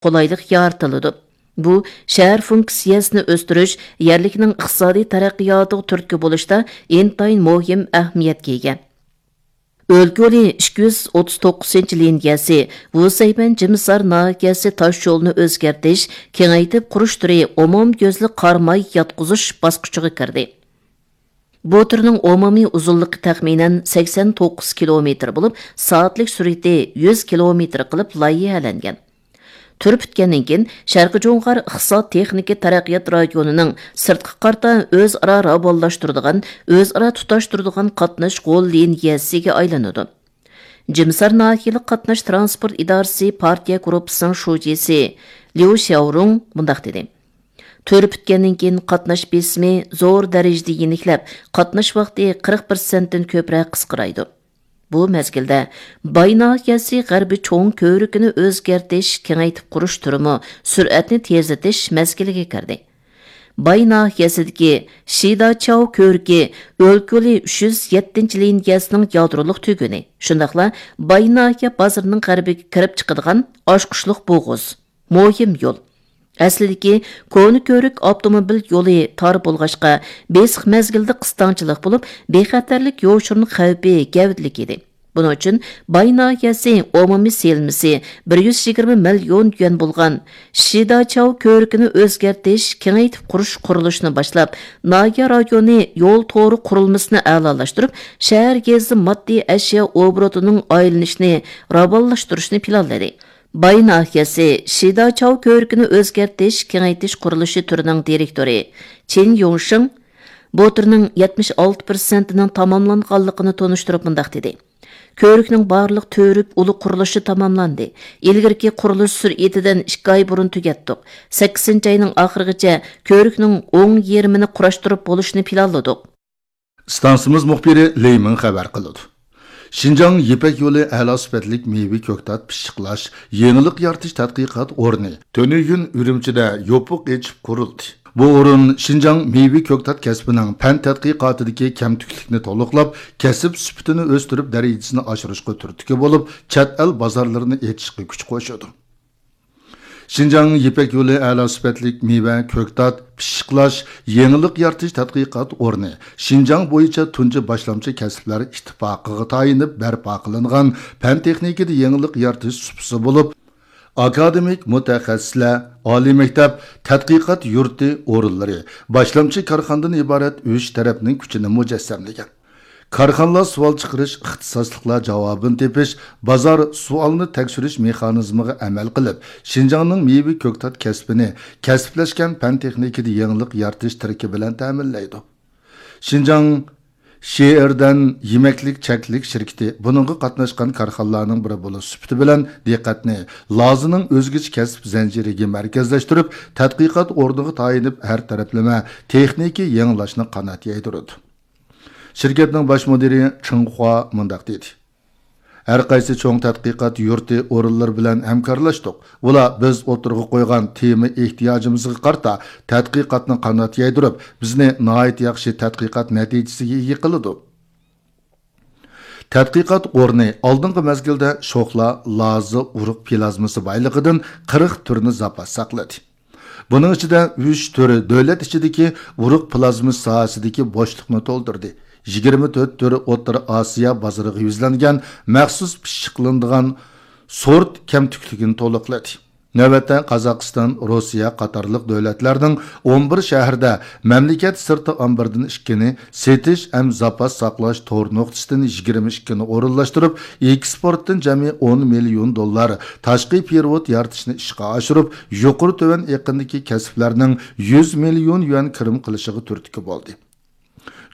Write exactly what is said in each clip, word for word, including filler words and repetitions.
قولايلىق يارىتىلىدۇ. بۇ شەھەر فۇنكسىيەسىنى ئۆستۈرۈش، يەرلىكنىڭ ئىقتىسادىي تەرەققىياتىغا تۈرتكە بولۇشتا ئىنتايىن مۇھىم ئەھمىيەتكە ئىگە. ئۆلكە يولى ئىككى يۈز ئوتتۇز توققۇزىنچى لىنىيەسى، ۋۇسەيبەن جىمىسار ناھىيەسى تاش يولىنى ئۆزگەرتىش، كېڭەيتىپ قۇرۇش تۈرى ئومۇميۈزلۈك قار ماي ياتقۇزۇش باسقۇچىغا كىردى. بۇ تۈرنىڭ ئومۇمىي ئۇزۇنلۇقى تەخمىنەن سەكسەن توققۇز كىلومېتىر بولۇپ، سائەتلىك سۈرئىتى يۈز كىلومېتىر قىلىپ لايىھەلەنگەن. تۈر پۈتكەندىن كېيىن، شەرقىي جۇڭغار ئىقتىساد تېخنىكا تەرەققىيات رايونىنىڭ سىرتقا قارىتا ئۆزئارا راۋانلاشتۇرىدىغان، ئۆزئارا تۇتاشتۇرىدىغان قاتناش غول لىنىيەسىگە ئايلىنىدۇ. جىمسار ناھىيەلىك قاتناش تىرانسپورت ئىدارىسى پارتىيە گۇرۇپپىسىنىڭ شۇجىسى ليۇ شياۋرۇڭ مۇنداق دېدى: تۈر پۈتكەندىن كېيىن قاتناش بېسىمى زور دەرىجىدە يېنىكلەپ، قاتناش ۋاقتى قىرىق پىرسەنتتىن كۆپرەك قىسقىرايدۇ. بۇ مەزگىلدە باي ناھىيەسى غەربىي چوڭ كۆۋرۈكىنى ئۆزگەرتىش، كېڭەيتىپ قۇرۇش تۈرىمۇ سۈرئەتنى تېزلىتىش مەزگىلىگە كىردى. باي ناھىيەسىدىكى شىداچاۋ كۆۋرۈكى ئۆلكە يولى ئۈچ يۈز يەتتىنچى لىنىيەسىنىڭ يادرولۇق تۈگۈنى، شۇنداقلا باي ناھىيە بازىرىنىڭ غەربىگە كىرىپ چىقىدىغان ئاچقۇچلۇق بوغۇز، مۇھىم يول. ئەسلىدىكى كونا كۆۋرۈك ئاپتوموبىل يولى تار بولغاچقا، بېسىق مەزگىلدە قىستاڭچىلىق بولۇپ، بىخەتەرلىك يوشۇرۇن خەۋپى گەۋدىلىك ئىدى. بۇنىڭ ئۈچۈن باي ناھىيەسى ئومۇمىي سېلىنمىسى بىر يۈز يىگىرمە مىليون يۈەن بولغان شىداچاۋ كۆۋرۈكىنى ئۆزگەرتىش، كېڭەيتىپ قۇرۇش قۇرۇلۇشىنى باشلاپ، ناھىيە رايونى يول تورى قۇرۇلمىسىنى ئەلالاشتۇرۇپ، شەھەر گېزىتى ماددىي ئەشيا ئوبوروتىنىڭ ئايلىنىشىنى راۋانلاشتۇرۇشنى پىلانلىدى. باي ناھىيەسى شىداچاۋ كۆۋرۈكىنى ئۆزگەرتىش، كېڭەيتىش قۇرۇلۇشى تۈرىنىڭ دىرېكتورى چېن يۇڭشېڭ بۇ تۈرنىڭ يەتمىش ئالتە پىرسەنتىنىڭ تاماملانغانلىقىنى تونۇشتۇرۇپ مۇنداق دېدى: كۆۋرۈكنىڭ بارلىق تۈۋرۈك ئۇلى قۇرۇلۇشى تاماملاندى. ئىلگىرىكى قۇرۇلۇش سۈرئىتىدىن ئىككى ئاي بۇرۇن تۈگەتتۇق. سەككىزىنچى ئاينىڭ ئاخىرىغىچە كۆۋرۈكنىڭ ئوڭ يېرىمىنى قۇراشتۇرۇپ بولۇشنى پىلانلىدۇق. ئىستانسىمىز مۇخبىرى لېي مىڭ خەۋەر قىلىدۇ. شىنجاڭ يىپەك يولى ئەلا سۈپەتلىك مېۋە كۆكتات پىششىقلاش، يېڭىلىق يارىتىش تەتقىقات ئورنى تۈنۈگۈن ئۈرۈمچىدە يوپۇق ئېچىپ قۇرۇلدى. بۇ ئورۇن شىنجاڭ مېۋە كۆكتات كەسپىنىڭ پەن تەتقىقاتىدىكى كەمتۈكلۈكنى تولۇقلاپ، كەسىپ سۈپىتىنى ئۆستۈرۈپ، دەرىجىسىنى ئاشۇرۇشقا تۈرتكە بولۇپ، چەت ئەل بازارلىرىنى ئېچىشقا كۈچ قوشىدۇ. شىنجاڭ يىپەك يولى ئەلا سۈپەتلىك مېۋە، كۆكتات پىششىقلاش، يېڭىلىق يارىتىش تەتقىقات ئورنى شىنجاڭ بويىچە تۇنجى باشلامچى كەسىپلەر ئىتتىپاقىغا تايىنىپ بەرپا قىلىنغان پەن تېخنىكىدا يېڭىلىق يارىتىش سۇپىسى بولۇپ، ئاكادېمىك مۇتەخەسسىسلەر، ئالىي مەكتەپ، تەتقىقات يۇرتى ئورۇنلىرى، باشلامچى كارخانىدىن ئىبارەت ئۈچ تەرەپنىڭ كۈچىنى مۇجەسسەملىگەن. كارخانىلار سوئال چىقىرىش، ئىختىساسلىقلار جاۋابىنى تېپىش، بازار سوئالنى تەكشۈرۈش مېخانىزمىغا ئەمەل قىلىپ، شىنجاڭنىڭ مېۋە كۆكتات كەسپىنى كەسىپلەشكەن پەن تېخنىكىدا يېڭىلىق يارىتىش تىرىكى بىلەن تەمىنلەيدۇ. شىنجاڭ شىئېردەن يېمەكلىك چەكلىك شىركىتى بۇنىڭغا قاتناشقان كارخانىلارنىڭ بىرى بولۇش سۈپىتى بىلەن دىققەتنى لازىنىڭ ئۆزگىچە كەسىپ زەنجىرىگە مەركەزلەشتۈرۈپ، تەتقىقات ئورنىغا تايىنىپ ھەر تەرەپلىمە تېخنىكا يېڭىلاشنى قانات يايدۇرىدۇ. شىركەتنىڭ باش مۇدىرى چېڭ خۇا مۇنداق دېدى: ھەر قايسى چوڭ تەتقىقات يۇرتى ئورۇنلىرى بىلەن ھەمكارلاشتۇق. ئۇلار بىز ئوتتۇرىغا قويغان تېما ئېھتىياجىمىزغا قارىتا تەتقىقاتنى قانات يايدۇرۇپ، بىزنى ناھايىتى ياخشى تەتقىقات نەتىجىسىگە ئىگە قىلىدۇ. تەتقىقات ئورنى ئالدىنقى مەزگىلدە شوخلا، لازا، ئۇرۇق پلازمىسى بايلىقىدىن قىرىق تۈرنى زاپاس ساقلىدى. بۇنىڭ ئىچىدە ئۈچ تۈر دۆلەت ئىچىدىكى ئۇرۇق پلازمىسى ساھەسىدىكى بوشلۇقنى تولدۇردى. يىگىرمە تۆت تۈر ئوتتۇرا ئاسىيا بازىرىغا يۈزلەنگەن مەخسۇس پىششىقلىنىدىغان سورت كەمتۈكلۈكىنى تولۇقلىدى. نۆۋەتتە قازاقىستان، روسىيە قاتارلىق دۆلەتلەرنىڭ ئون بىر شەھىرىدە مەملىكەت سىرتى ئامبىرىدىن ئىككىنى، سېتىش ھەم زاپاس ساقلاش تور نۇقتىسىدىن يىگىرمە ئىككىنى ئورۇنلاشتۇرۇپ، ئېكسپورتتىن جەمئىي ئون مىليون دوللار تاشقى پېرېۋوت يارىتىشنى ئىشقا ئاشۇرۇپ، يۇقىرى تۆۋەن ئېقىندىكى كەسىپلەرنىڭ يۈز مىليون يۈەن كىرىم قىلىشىغا تۈرتكە بولدى.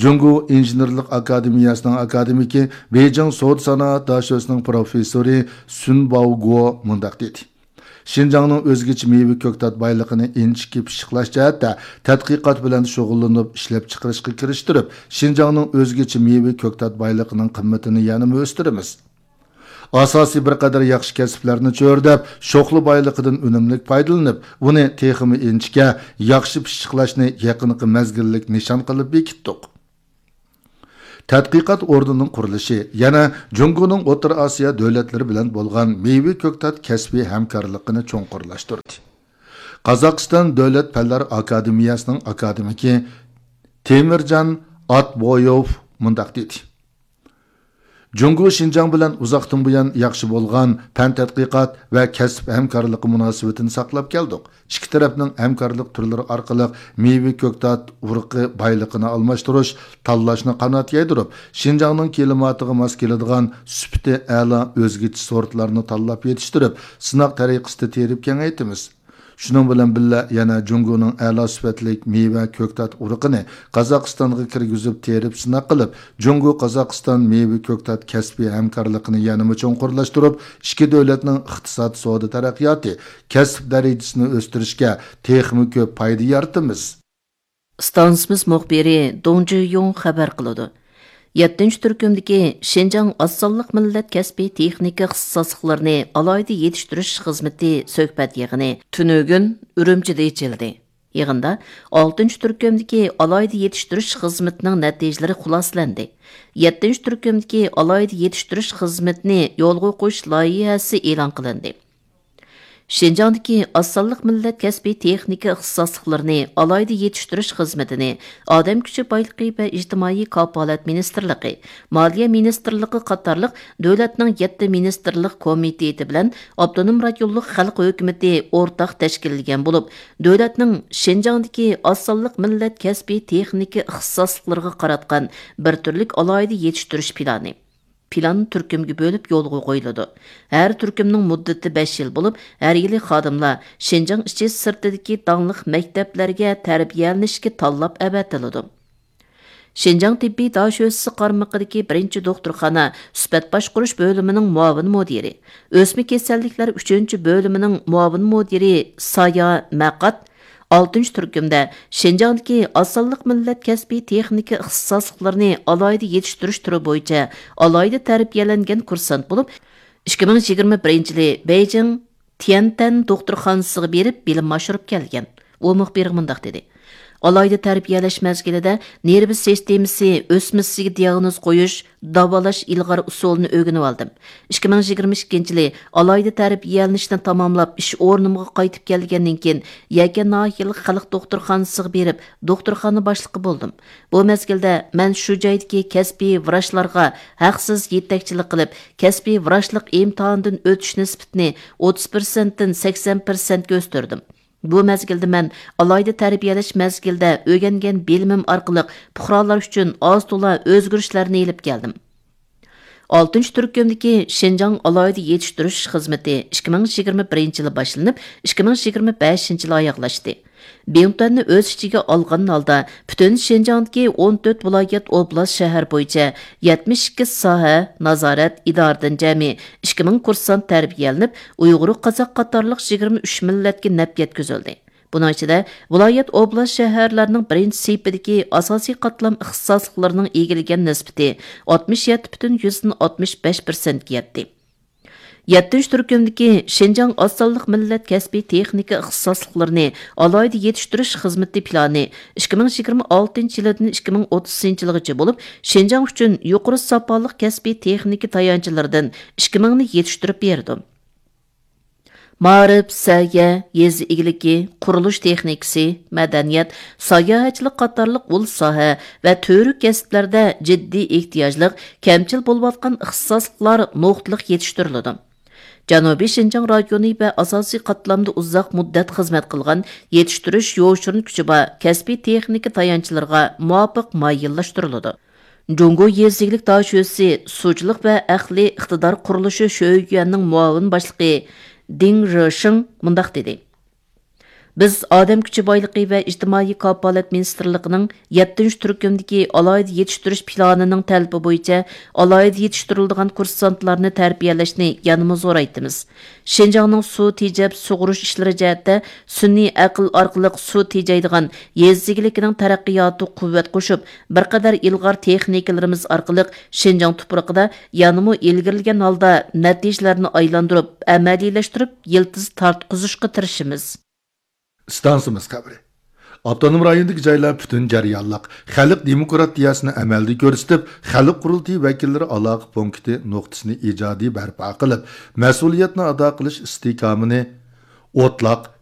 جۇڭگو ئىنژېنېرلىق ئاكادېمىيەسىنىڭ ئاكادېمىكى، بېيجىڭ سودا سانائەت داشۆسىنىڭ پروفېسسورى سۈن باۋگو مۇنداق دېدى: شىنجاڭنىڭ ئۆزگىچە مېۋە كۆكتات بايلىقىنى ئىنچىكە پىششىقلاش جەھەتتە تەتقىقات بىلەن شۇغۇللىنىپ، ئىشلەپچىقىرىشقا كىرىشتۈرۈپ، شىنجاڭنىڭ ئۆزگىچە مېۋە كۆكتات بايلىقىنىڭ قىممىتىنى يەنىمۇ ئۆستۈرىمىز. ئاساسىي بىر قەدەر ياخشى كەسىپلەرنى چۆرىدەپ، شوخلا بايلىقىدىن ئۈنۈملۈك پايدىلىنىپ، ئۇنى تېخىمۇ ئىنچىكە، ياخشى پىششىقلاشنى يېقىنقى مەزگىللىك نىشان قىلىپ بېكىتتۇق. تەتقىقات ئورنىنىڭ قۇرۇلۇشى يەنە جۇڭگونىڭ ئوتتۇرا ئاسىيا دۆلەتلىرى بىلەن بولغان مېۋە كۆكتات كەسپىي ھەمكارلىقىنى چوڭقۇرلاشتۇردى. قازاقىستان دۆلەت پەنلەر ئاكادېمىيەسىنىڭ ئاكادېمىكى تېمىرجان ئاتبويېۋ مۇنداق دېدى: جۇڭگو شىنجاڭ بىلەن ئۇزاقتىن بۇيان ياخشى بولغان پەن تەتقىقات ۋە كەسىپ ھەمكارلىقى مۇناسىۋىتىنى ساقلاپ كەلدۇق. ئىككى تەرەپنىڭ ھەمكارلىق تۈرلىرى ئارقىلىق مېۋە كۆكتات ئۇرۇقى بايلىقىنى ئالماشتۇرۇش، تاللاشنى قانات يايدۇرۇپ، شىنجاڭنىڭ كىلىماتىغا ماس كېلىدىغان سۈپىتى ئەلا ئۆزگىچە سورتلارنى تاللاپ يېتىشتۈرۈپ، سىناق تەرىقىسىدە تېرىپ كېڭەيتىمىز. شۇنىڭ بىلەن بىللە، يەنە جۇڭگونىڭ ئەلا سۈپەتلىك مېۋە كۆكتات ئۇرۇقىنى قازاقىستانغا كىرگۈزۈپ تېرىپ سىناق قىلىپ، جۇڭگو قازاقىستان مېۋە كۆكتات كەسپىي ھەمكارلىقىنى يەنىمۇ چوڭقۇرلاشتۇرۇپ، ئىككى دۆلەتنىڭ ئىقتىساد، سودا تەرەققىياتى، كەسىپ دەرىجىسىنى ئۆستۈرۈشكە تېخىمۇ كۆپ پايدا يارىتىمىز. ئىستانسىمىز مۇخبىرى دۇڭ جۈييۇڭ خەۋەر قىلىدۇ. يەتتىنچى تۈركۈمدىكى شىنجاڭ ئاز سانلىق مىللەت كەسپىي تېخنىكا ئىختىساسلىقلىرىنى ئالاھىدە يېتىشتۈرۈش خىزمىتى سۆھبەت يىغىنى تۈنۈگۈن ئۈرۈمچىدە ئېچىلدى. يىغىندا ئالتىنچى تۈركۈمدىكى ئالاھىدە يېتىشتۈرۈش خىزمىتىنىڭ نەتىجىلىرى خۇلاسىلەندى. يەتتىنچى تۈركۈمدىكى ئالاھىدە يېتىشتۈرۈش خىزمىتىنى يولغا قويۇش لايىھەسى ئېلان قىلىندى. شىنجاڭدىكى ئاز سانلىق مىللەت كەسپىي تېخنىكا ئىختىساسلىقلىرىنى ئالاھىدە يېتىشتۈرۈش خىزمىتىنى ئادەم كۈچى بايلىقى ۋە ئىجتىمائىي كاپالەت مىنىستىرلىقى، مالىيە مىنىستىرلىقى قاتارلىق دۆلەتنىڭ يەتتە مىنىستىرلىق كومىتېتى بىلەن ئاپتونوم رايونلۇق خەلق ھۆكۈمىتى ئورتاق تەشكىللىگەن بولۇپ، دۆلەتنىڭ شىنجاڭدىكى ئاز سانلىق مىللەت كەسپىي تېخنىكا ئىختىساسلىقلىرىغا قاراتقان بىر تۈرلۈك ئالاھىدە يېتىشتۈرۈش پىلانى، پىلان تۈركۈمگە بۆلۈپ يولغا قويۇلىدۇ. ھەر تۈركۈمنىڭ مۇددىتى بەش يىل بولۇپ، ھەر يىلى خادىملار شىنجاڭ ئىچى سىرتىدىكى داڭلىق مەكتەپلەرگە تەربىيەلىنىشكە تاللاپ ئەۋەتىلىدۇ. شىنجاڭ تېببىي داشۆسىسى قارمىقىدىكى بىرىنچى دوختۇرخانا سۈپەت باشقۇرۇش بۆلۈمىنىڭ مۇئاۋىن مۇدىرى، ئۆسمە كېسەللىكلەر ئۈچىنچى بۆلۈمىنىڭ مۇئاۋىن مۇدىرى سايا مەقات، ئالتىنچى تۈركۈمدە شىنجاڭدىكى ئاز سانلىق مىللەت كەسپىي تېخنىكا ئىختىساسلىقلىرىنى ئالاھىدە يېتىشتۈرۈش تۈرى بويىچە ئالاھىدە تەربىيەلەنگەن كۇرسانت بولۇپ، ئىككى مىڭ يىگىرمە بىرىنچى يىلى بېيجىڭ تيەنتەن دوختۇرخانىسىغا بېرىپ بىلىم ئاشۇرۇپ كەلگەن. ئۇ مۇخبىرغا مۇنداق دېدى: ئالاھىدە تەربىيەلەش مەزگىلىدە نېرۋا سىستېمىسى ئۆسمىسىگە دىئاگنوز قويۇش، داۋالاش ئىلغار ئۇسۇلىنى ئۆگىنىۋالدىم. ئىككى مىڭ يىگىرمە ئىككىنچى يىلى ئالاھىدە تەربىيەلىنىشنى تاماملاپ، ئىش ئورنۇمغا قايتىپ كەلگەندىن كېيىن، يەكەن ناھىيەلىك خەلق دوختۇرخانىسىغا بېرىپ، دوختۇرخانا باشلىقى بولدۇم. بۇ مەزگىلدە مەن شۇ جايدىكى كەسپىي ۋراچلارغا ھەقسىز يېتەكچىلىك قىلىپ، كەسپىي ۋراچلىق ئىمتىھانىدىن ئۆتۈش نىسبىتىنى ئوتتۇز پىرسەنتتىن سەكسەن پىرسەنتكە ئۆستۈردۈم. بۇ مەزگىلدە مەن ئالاھىدە تەربىيەلەش مەزگىلىدە ئۆگەنگەن بىلىمىم ئارقىلىق پۇقرالار ئۈچۈن ئاز تولا ئۆزگىرىشلەرنى ئېلىپ كەلدىم. ئالتىنچى تۈركۈمدىكى شىنجاڭ ئالاھىدە يېتىشتۈرۈش خىزمىتى ئىككى مىڭ يىگىرمە بىرىنچى يىلى باشلىنىپ، ئىككى مىڭ يىگىرمە بەشىنچى يىلى ئاياغلاشتى. بىڭتۈەننى ئۆز ئىچىگە ئالغان ھالدا، پۈتۈن شىنجاڭدىكى ئون تۆت ۋىلايەت، ئوبلاست، شەھەر بويىچە يەتمىش ئىككى ساھە، نازارەت، ئىدارىدىن جەمئىي ئىككى مىڭ كۇرسانت تەربىيەلىنىپ، ئۇيغۇر، قازاق قاتارلىق يىگىرمە ئۈچ مىللەتكە نەپ يەتكۈزۈلدى. بۇنىڭ ئىچىدە، ۋىلايەت، ئوبلاست، شەھەرلەرنىڭ بىرىنچى سېپىدىكى ئاساسىي قاتلام ئىختىساسلىقلىرىنىڭ ئىگىلىگەن نىسبىتى ئاتمىش يەتتە پۈتۈن يۈزدىن ئاتمىش بەش پىرسەنتكە يەتتى. يەتتىنچى تۈركۈمدىكى شىنجاڭ ئاز سانلىق مىللەت كەسپىي تېخنىكا ئىختىساسلىقلىرىنى ئالاھىدە يېتىشتۈرۈش خىزمىتى پىلانى ئىككى مىڭ يىگىرمە ئالتىنچى يىلىدىن ئىككى مىڭ ئوتتۇزىنچى يىلغىچە بولۇپ، شىنجاڭ ئۈچۈن يۇقىرى ساپالىق كەسپىي تېخنىكا تايانچلىرىدىن ئىككى مىڭنى يېتىشتۈرۈپ بېرىدۇ. مائارىپ، سەھىيە، يېزا ئىگىلىكى، قۇرۇلۇش تېخنىكىسى، مەدەنىيەت، ساياھەتچىلىك قاتارلىق ئۇل ساھە ۋە تۈۋرۈك كەسىپلەردە جىددىي ئېھتىياجلىق، كەمچىل بولۇۋاتقان ئىختىساسلىقلار نۇقتىلىق يېتىشتۈرۈلىدۇ. جەنۇبىي شىنجاڭ رايونى ۋە ئاساسىي قاتلامدا ئۇزاق مۇددەت خىزمەت قىلغان، يېتىشتۈرۈش يوشۇرۇن كۈچى بار كەسپىي تېخنىكا تايانچلىرىغا مۇۋاپىق مايىللاشتۇرۇلىدۇ. جۇڭگو يېزا ئىگىلىك داشۆسىسى سۇچىلىق ۋە ئەقلىي ئىقتىدار قۇرۇلۇشى شۆيۈەننىڭ مۇئاۋىن باشلىقى دىڭ رېشىڭ مۇنداق دېدى: بىز ئادەم كۈچى بايلىقى ۋە ئىجتىمائىي كاپالەت مىنىستىرلىقىنىڭ يەتتىنچى تۈركۈمدىكى ئالاھىدە يېتىشتۈرۈش پىلانىنىڭ تەلىپى بويىچە ئالاھىدە يېتىشتۈرۈلىدىغان كۇرسانتلارنى تەربىيەلەشنى يەنىمۇ زورايتىمىز. شىنجاڭنىڭ سۇ تېجەپ سۇغۇرۇش ئىشلىرى جەھەتتە سۈنئىي ئەقىل ئارقىلىق سۇ تېجەيدىغان يېزا ئىگىلىكىنىڭ تەرەققىياتىغا قۇۋۋەت قوشۇپ، بىر قەدەر ئىلغار تېخنىكىلىرىمىز ئارقىلىق شىنجاڭ تۇپرىقىدا يەنىمۇ ئىلگىرىلىگەن ھالدا نەتىجىلەرنى ئايلاندۇرۇپ، ئەمەلىيلەشتۈرۈپ، يىلتىز تارتقۇزۇشقا تىرىشىمىز. ئىستانسىمىز خەۋىرى. ئاپتونوم رايوندىكى جايلار پۈتۈن جەريانلىق خەلق دېموكراتىيەسىنى ئەمەلدە كۆرسىتىپ، خەلق قۇرۇلتىيى ۋەكىللىرى ئالاقە پونكىتى نۇقتىسىنى ئىجادىي بەرپا قىلىپ، مەسئۇلىيەتنى ئادا قىلىش ئىستىھكامىنى ئوتلاق،